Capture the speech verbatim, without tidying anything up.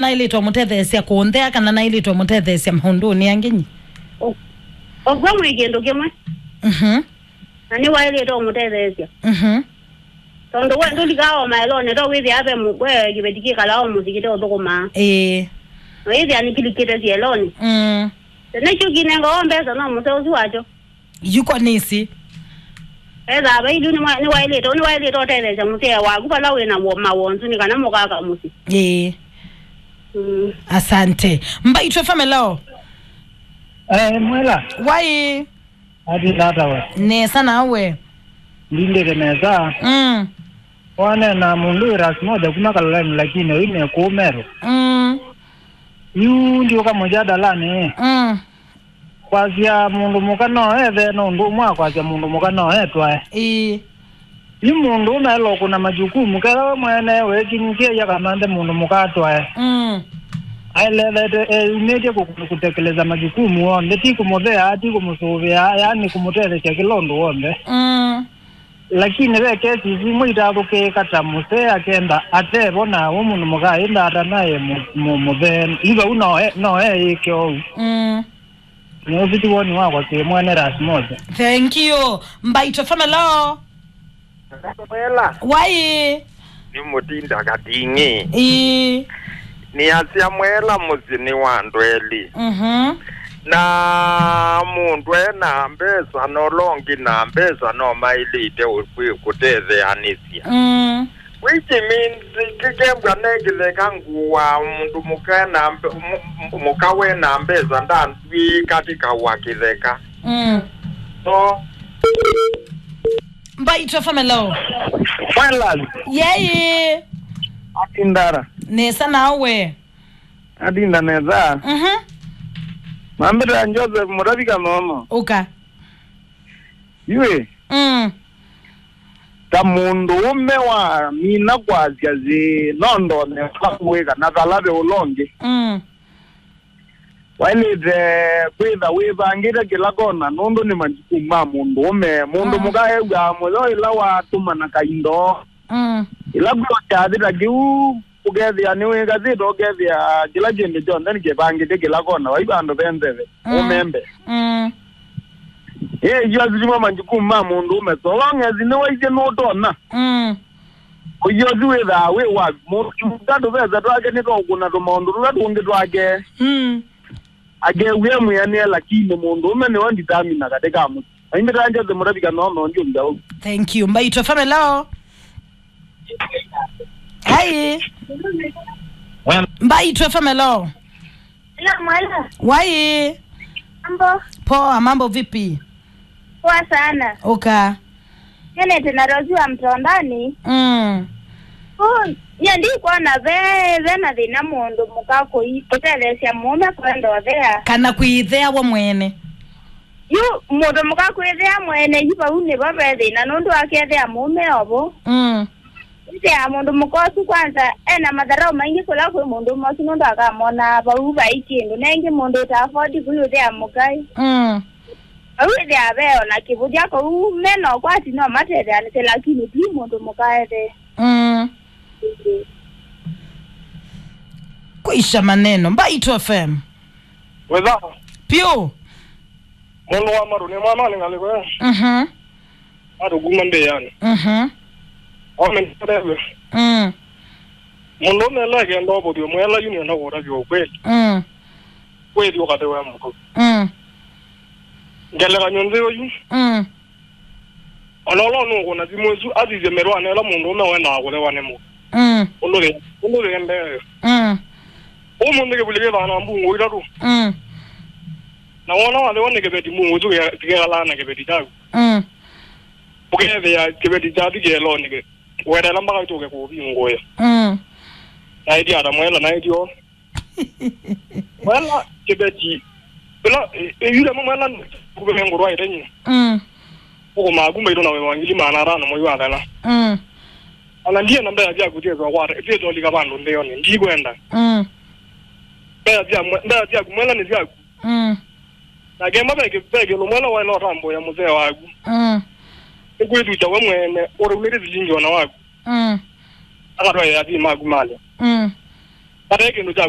Naĩlĩte ũmũtetheesya kũnthea kana naĩlĩte ũmũtetheesya maũndũnĩ angĩ nyi? Ũ-, ũkw'a mwĩ kĩndũ kĩmwe. Mhm. Na nĩwaĩlĩte ũmũtetheesya. Mhm. Tondũ we ndũlikaa o maelonĩ, to wĩthĩa ve mũ-, we kĩveti kĩkalaa o mũsyĩ kĩteũthũkũmaa. Ĩĩ. Na wĩthĩa nĩkĩlikĩte syelonĩ. Mm. Nĩkyo kinenga o mbesa no mũseo ũsu wakyo. Yuko nĩsĩ. Ethaa vailu nĩwa-, nĩwaĩlĩte, nĩwaĩlĩte ũtetheesya mũsee waku vala wĩ na wo-, mawonzu nĩ kana mũkaka mũsyĩ. Ĩĩ. Mm. Asante. Mbaitũ F M, hello. Eh, Mwela. Wai. Ati tata we. Nesa nawe. Ndindĩte nesa. Mm. Wane na mũndũ wĩ Ras Moja kuma Kaloleni, lakini ũyu nĩ kũũ Meru. Mm. Yu ndiũka mũjadalanĩ. Mm. Kwasya mũndũ mũka no ethe, no ũndũ ũmwe wa kwasya mũndũ mũka no etwae. Ĩĩ. Yu mũndũ ũnaĩlwa kũna majukumu, ketha we mwene wekinyĩsye yakamanthe mũndũ mũka atwae. Mm. Aelethete eyumĩtye kũ-, kũtekeleza majukumu onthe, ti kũmũthea, ti kũmũsũvĩa, yaani kũmũtethesya kĩla ũndũ w'onthe. Mm. Lakini ve kesi imwe itathũkĩĩka ta mũsee akenda atevo na we mũndũ mũka ĩnda atanae mũ-, mũ-, mũthee. Yu vau no e-, no eĩke ũu. Mm. Nĩ ũsu ti woni wakwa kĩ mwene Ras Moja. Thank you. Mbaitũ F M, hello. Mwela. Wai. Nĩ mũtinda kating'i. Ĩĩ. Nĩ asya Mwela mũsyĩ nĩ wa andũ elĩ. Mhm. Na mũndũ e na mbesa na ũla ũngĩ na mbesa no maĩlĩte ũ-, kwĩ-, kũtetheanĩsya. Mm. Which means, kĩkembwa ne kĩtheka ngũa mũndũ mũka na mbe-, mũ-, mũ-, mũka we na mbesa ndandwĩĩka tĩkawa kĩtheka. Mm. So. Mbaitũ F M, hello. Finland. Yei. Atindara. Nesa nawe. Atinda nesa. Mhm. Mambĩta Joseph Mũtavi Kanono. Ũka. Yue. Mm. Ta mũndũũme wa mina kwasya syĩ, no ndone kwa kũwĩka na vala ve ũla ũngĩ. Mm. Waĩlĩte kwĩtha wĩvangĩte kĩla kona nũndũ nĩ majukumu ma mũndũũme. Mũndũ Mm. mũka ew'aa mũyo ĩla watũmana kaindo. Mm. Ĩla kwĩ kyathĩ ta kĩu, ũkethĩa nĩwĩkasĩte, ũkethĩa kĩla kĩndũ kyonthe nĩkĩvangĩte kĩla kona, vai vandũ ve nzeve, Mm. ũmembe. Mm. Ĩĩ, isu asu nĩmo majukumu ma mũndũũme. So long as nĩwaisye nũtonya, Mm. ũio ũsu wĩthaa wĩ wa mũndũ tũvesa twake nĩtwaũkũna tũmaũndũ tũla tũngĩ twake. Mm. Akew'e mwĩanĩe, lakini mũndũũme nĩwe nditamina katĩ ka mũsyĩ. Aimbĩtaa Jose Mũtavi Kanono, ndi ũmbe ũu. Thank you. Mbaitũ F M, hello. Hi. Well. Mbaitũ F M, hello. Hello, Mwela. Wai. Mambo? Poa, mambo vipi? Poa sana. Oka. Nyenete na Rosi wa Mtondani. Mm. Ũ, nye ndikwona ve, ve na thĩna mũndũ mũka kũi-, kũtetheesya mũũme kwenda ũthea. Kana kwĩthea we mwene. Yu mũndũ mũka kwĩthea mwene, yu vau nĩvo ve thĩna, nũndũ akethea mũũme ovo. Mm. Ĩthĩa mũndũ mũka ũsu kwanza ena matharau maingĩ kũla kwĩ mũndũ ũmwe ũsu, nũndũ akamonaa vau vai kĩndũ. Na ĩngĩ mũndũ ũta afford kũi ũthea mũkaĩ. Mm. Vau ĩthĩa ve o na kĩvũthya kũu, me na ũkwati no matetheanĩsye, lakini ti mũndũ mũka ethee. Mm. Kwisha maneno. Mbaitũ F M. Wĩtha. Piũ. Mũndũ wa marũ nĩ mwana nĩ ngalĩko ya. Mhm. Andũ kuma mbĩanĩ. Mhm. Ome nĩtũtethwe. Mm. Mũndũ ũmele akenda ũvũthyo mwela yu nĩenda kũtavya ũkweli. Mm. Kwĩthi ũkathewe mũndũ. Mm. Ngelekany'o nthĩ ũyu. Mm. Ona ũla ũnũkũna simũ ĩsu, asisye mĩtwanĩ ĩla mũndũũme wendaa kũthewa nĩ mũndũ. Mm. Ũndũ wĩ, ũndũ wĩendee. Mm. Ũmũnthĩ kĩvuli kĩthaa na mbungũ itatũ. Mm. Na wona wathewa nĩ kĩveti, mbungũ isu kĩkekalaa na kĩveti kyaku. Mm. Ũkethĩa kĩveti kyathi kĩelonĩ kĩ-, weteela mpaka itũke kũvingũĩa. Mm. Naĩthi ata mwela, naĩthi o. Mwela kĩveti. Ĩla, ĩ-, ĩyule mwela kũvengũrwa ĩtenyi. Mm. Ũkũmaa kuma ito na wĩwa ngili maana atano mwei wa thela. Mm. Ona ndiye na mbea syaku syĩtwa kwata, syĩtwa lika vandũ nthĩonĩ. Ndikwenda. Mm. Mbea sya mwe-, mbea syaku mwela nĩ syaku. Mm. Na kemba ve kĩ-, ve kĩndũ mwela waĩla ũtambũĩa mũsee waku. Mm. Nĩkwĩthukya we mwene, ũtaumĩte silingi ona waku. Mm. Akatwaĩa athii maku malya. Mm. Kataĩ kĩndũ kyaku.